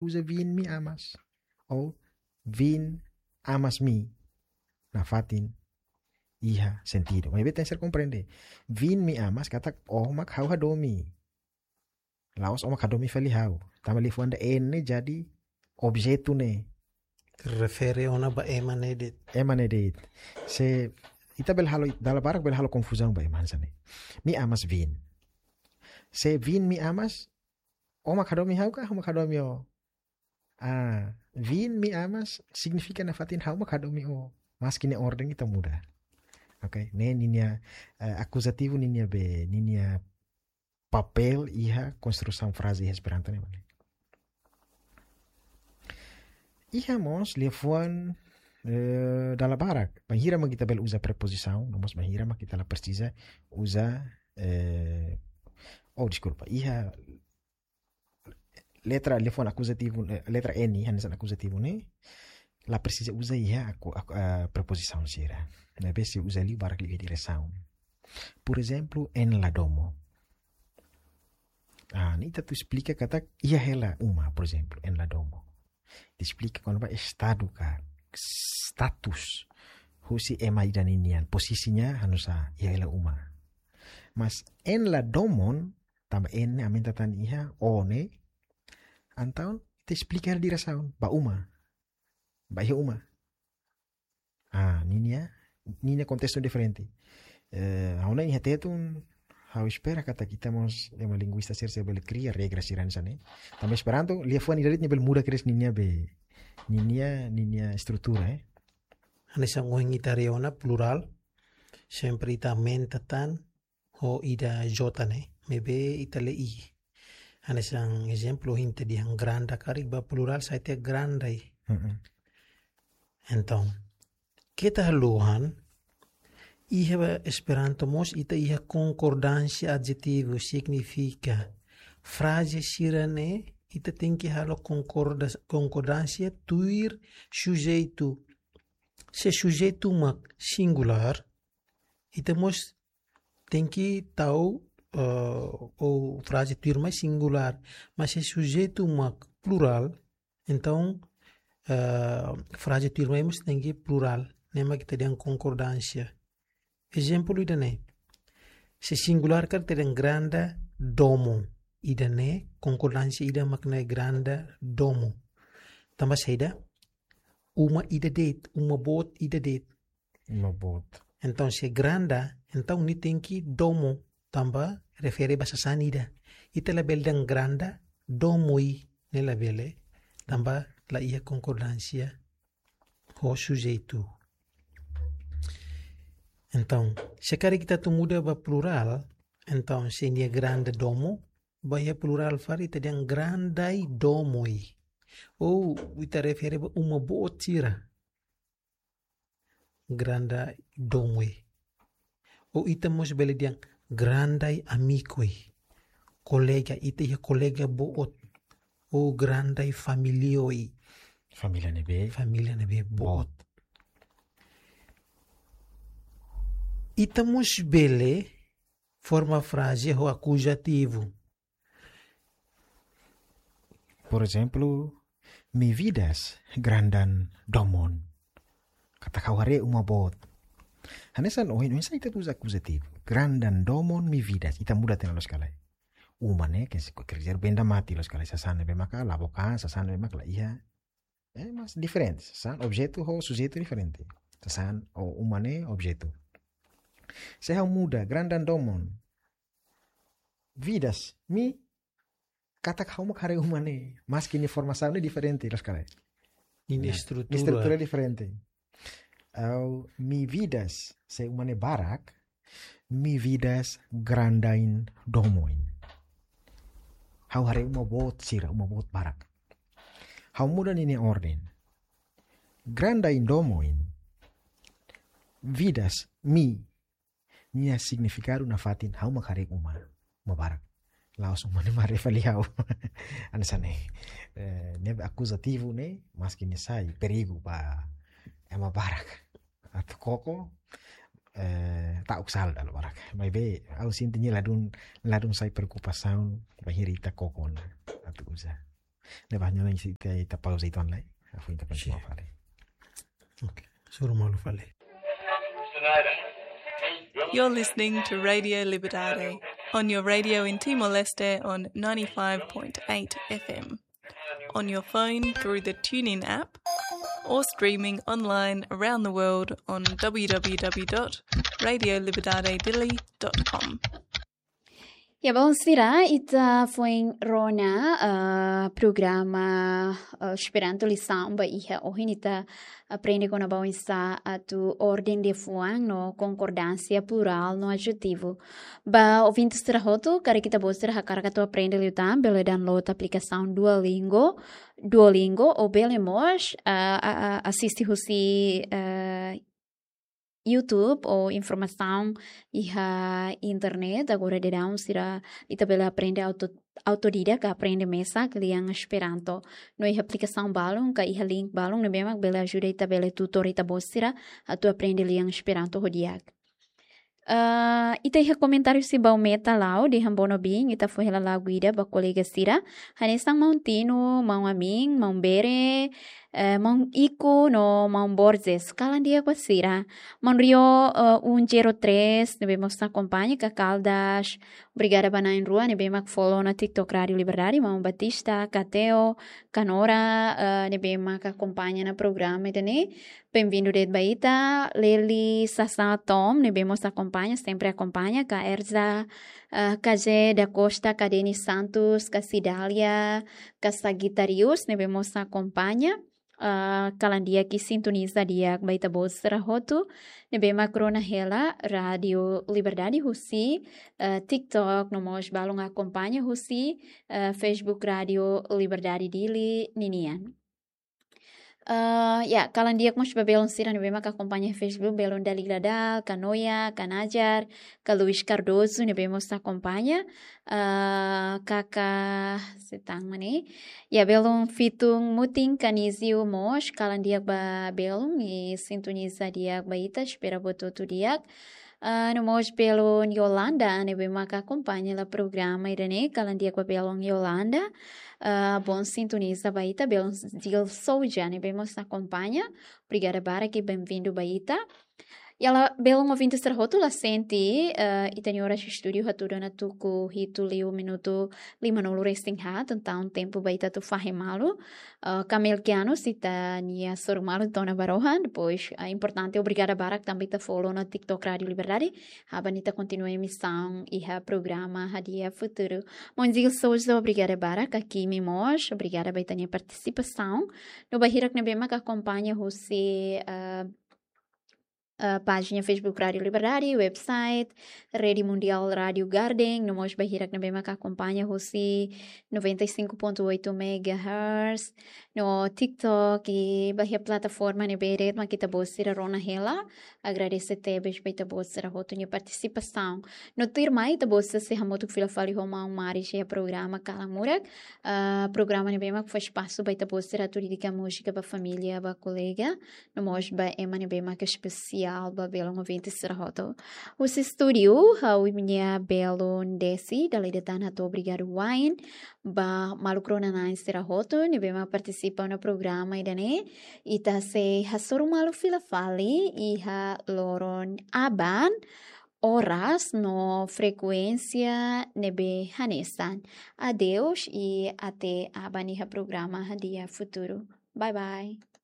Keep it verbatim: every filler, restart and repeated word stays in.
uza vin mi amas. Ou vin amas mi. Nafatin iha sentidu. Maibé tenke ser komprende. Vin mi amas katak ó mak ha'u hadomi. La'ós ó mak hadomi fali ha'u. Tanba liafuan ida N jadi objetu ne'e. Refere ona ba ema ne'e de'it. Ema ne'e de'it. Se ita bele halo, dala barak bele halo konfuzaun ba ema hanesan ne'e. Mi amas vin. Se vin mi amas, ó mak hadomi ha'u ka, ha'u mak hadomi ó. Ah, vin mi amas signifika nafatin ha'u mak hadomi ó. Maski ne'e orden ita muda. Oke, ne'e ninia, eh, akuzativu ninia be, ninia papél iha konstrusaun fraze iha Esperanto ne'e, mane. Iha mós liafuan, eh, dala barak. Bainhira mak ita bele uza prepozisaun, no mós bainhira mak ita la presiza uza, eh, oh, deskulpa. Iha letra liafuan akuzativu, eh, letra N, hanesan akuzativu ne'e, la presiza uza iha aku, aku, eh, prepozisaun sira. Maibé sei uza liu barak liu iha diresaun. Por ezemplu, en la domo. Ah, ne'e ita atu esplika katak iha hela uma, por ezemplu, en la domo. Ita esplika kona-ba estadu ka status husi ema ida ninian, pozisinya hanesan iha hela uma. Mas en la domon, tanba en ne'e aumenta tan iha ó ne'e, entaun ita esplika hela diresaun, ba uma. Ba iha uma. Ah, ninia, ninia kontestu diferente. Eh, ha'u hanoin iha Tetun, ha'u espera katak ita mós ema linguista sira sei bele kria regra sira hanesan ne'e. Tanba Esperanto, liafuan ida de'it nia bele muda kedas ninia be, ninia, ninia estrutura, eh. Hanesan ohin ita haree ona plurál, sempre ita aumenta tan ho ida J ne'e, maibé ita lee I. Hanesan ezemplu, ohin ita dehan granda karik ba plurál sai tiha grandai. Mm-mm. Entaun, keta haluha, iha Esperanto mós ita iha konkordánsia adjetivu, signifika fraze sira-ne'e ita tenke halo konkorda-, konkordánsia tuir sujeitu. Se sujeitu mak singulár, ita mós tenke tau, eh, ou fraze tuirmai singulár. Mas se sujeitu mak plurál, entaun, eh, fraze tuirmai mós tenke plurál. Ne'e mak ita dehan konkordánsia. Ezemplu ida-ne'e. Se singulár karik ita dehan granda domo. Ida-ne'e konkordánsia ida mak ne'e granda domo. Tanba saida? Uma ida de'it, uma boot ida de'it. Uma boot. Entaun, se granda, entaun nia tenke domo, tanba refere ba sasán ida. Ita labele dehan granda domoi, ne'e labele, tanba la iha konkordánsia ho sujeitu. Entaun, se karik ita atu muda ba plurál, entaun, se nia granda domo, ba iha plurál fali ita dehan grandai domoi. Ou ita refere ba uma boot sira. Grandai domoi. Ou ita mós bele dehan grandai amikoi. Kolega, ita iha kolega boot. Ou grandai familioi. Família ne'ebé? Família ne'ebé boot. Boot. Ita mós bele forma fraze ho akuzativu. Por ezemplu, mi vidas grandan domon. Katak ha'u haree uma boot. Hanesan ohin, oinsá ita uza akuzativu. Grandan domon mi vidas. Ita muda tiha ona loos ka lae. Uma ne'e, ke se ko kerja benda mati loos ka lae. Sasán ne'ebé maka, la bokan, sasán ne'ebé maka la iha. Eh, mas diferente. Sasán, objetu ho sujeitu diferente. Sasán, ou uma ne'e, objetu. Se ha'u muda, grandan domon. Vidas, mi, katak ha'u mak haree uma ne'e. Maski nia formasaun ne'e diferente, loos ka lae. Ninia estrutura. Estrutura diferente. Ou mi vidas, se uma ne'e barak, mi vidas grandain domoin. Ha'u haree uma boot sira, uma boot barak. Ha'u muda ninia orden. Grandain domoin. Vidas, mi, nia signifikadu nafatin ha'u mak haree uma, uma barak. La'ós uma ne'e mak haree fali ha'u. Hanesan ne'e. Eh, ne'e akuzativu ne'e, maski nia sai perigu ba ema barak. Atu koko, eh, ta'uk sala dala barak. Maibé, ha'u sente nia ladún, ladún sai preokupasaun, bainhira ita koko ona atu uza. Ne'ebé ha'u hanoin ita, ita pauza uitoan lai. Hafoin ita kontinua fali. Ok, hasoru malu fali. You're listening to Radio Liberdade on your radio in Timor-Leste on ninety-five point eight F M, on your phone through the TuneIn app, or streaming online around the world on w w w dot radio liberdade dili dot com. Ya, bainhira ita foin rona, ah, programa, ah, Esperanto lisaun ba iha ohin, ita aprende kona-ba oinsá atu orden liafuan no konkordánsia plurál no adjetivu. Ba ouvinte sira hotu, karik ita-boot sira hakarak atu aprende liután, bele download aplikasaun Duolingo, Duolingo, ou bele mós, ah, ah, ah, asiste husi, ah, YouTube ou informasaun iha internet. Agora daudaun sira ita bele aprende auto, autodidata, aprende mesak lian Esperanto. No iha aplikasaun balun ka iha link balun ne'ebé mak bele ajuda ita, bele tutor ita-boot sira atu aprende lian Esperanto ho di'ak. Ah, ita iha komentáriu husi Baumeta Lau, dehan bono bin, ita fó hela lagu ida ba kolega sira. Hanesan maun Tino, maun Amin, maun Bere, eh, maun Iko no maun Borges, kalan di'ak ba sira. Maun Rio, eh, um zero três, ne'ebé mós akompaña, Kakaldas. Obrigada ba na'in-rua ne'ebé mak follow ona TikTok Rádio Liberdade, maun Batista, Kateo, Kanora, eh, ne'ebé mak akompaña ona programa ida-ne'e. Bem-vindo de'it ba ita, Leli Sasa Tom, ne'ebé mós akompaña, sempre akompaña, ka Erza, eh, K J da Costa, ka Denis Santos, ka Cidália, ka Sagitarius, ne'ebé mós akompaña. Ah, kalan di'ak i sintoniza di'ak ba ita-boot sira hotu ne'ebé mak rona hela Rádio Liberdade husi, eh, TikTok, no mós balun akompaña husi, eh, Facebook Rádio Liberdade Dili ninian. Ah, ya, kalan di'ak mós ba belun sira ne'ebé mak akompaña Facebook, belun Dalila Dal, ka Noia, ka Najar, ka Luis Cardoso ne'ebé mós akompaña, ah, kaka setang mani. Ya, belun Fitung Mutin, ka Nizio mós, kalan di'ak ba belun i sintoniza di'ak ba ita, espera buat hotu di'ak. Ah, no mós belun Yolanda, ne'ebé mak akompaña hela programa ida-ne'e, kalan di'ak ba belun Yolanda. Ah, bom sintoniza ba ita, belun Dil Souja, ne'ebé mós akompaña. Obrigada barak i bem-vindo ba ita. Ya, la, belun ouvinte sira hotu, la sente, eh, ita-nia oras estúdiu hatudu ona tuku hitu liu minutu lima-nulu resin haat, entaun tempu ba ita atu fahe malu. Eh, Kamel Kiano, ita-nia hasoru malu to'o ona ba rohan, depois, eh, importante, obrigada barak tanba ita follow ona TikTok Rádio Liberdade, aban ita kontinua emisaun iha programa Hadi'a Futuru. Maun Dil Souza, obrigada barak, ka Kimi mós, obrigada ba ita-nia partisipasaun. No ba hirak ne'ebé mak akompaña husi, eh, eh, pájina Facebook Rádio Liberdade, website, Rede Mundial Rádio Garden, no mós ba hirak ne'ebé mak akompaña husi noventa e cinco ponto oito megahertz, no TikTok, i ba iha plataforma ne'ebé de'it mak ita-boot sira rona hela. Agradese tebes ba ita-boot sira hotu nia partisipasaun. No tuirmai ita-boot sira sei hamutuk fila fali ho maun Maris iha programa Kalan Murak. Ah, programa ne'ebé mak fó espasu ba ita-boot sira atu dedika múzika ba família, ba kolega, no mós ba ema ne'ebé mak espesiál ba belun ouvinte sira hotu. Husi estúdiu, ha'u-nia belun Desi, dala ida tan hato'o obrigadu wa'in ba maluk rona-na'in sira hotu ne'ebé mak partisipa ona programa ida-ne'e. Ita sei hasoru malu fila fali iha loron aban, oras no frekuénsia ne'ebé hanesan. Adeus i até aban iha programa Hadi'a Futuru. Bye bye.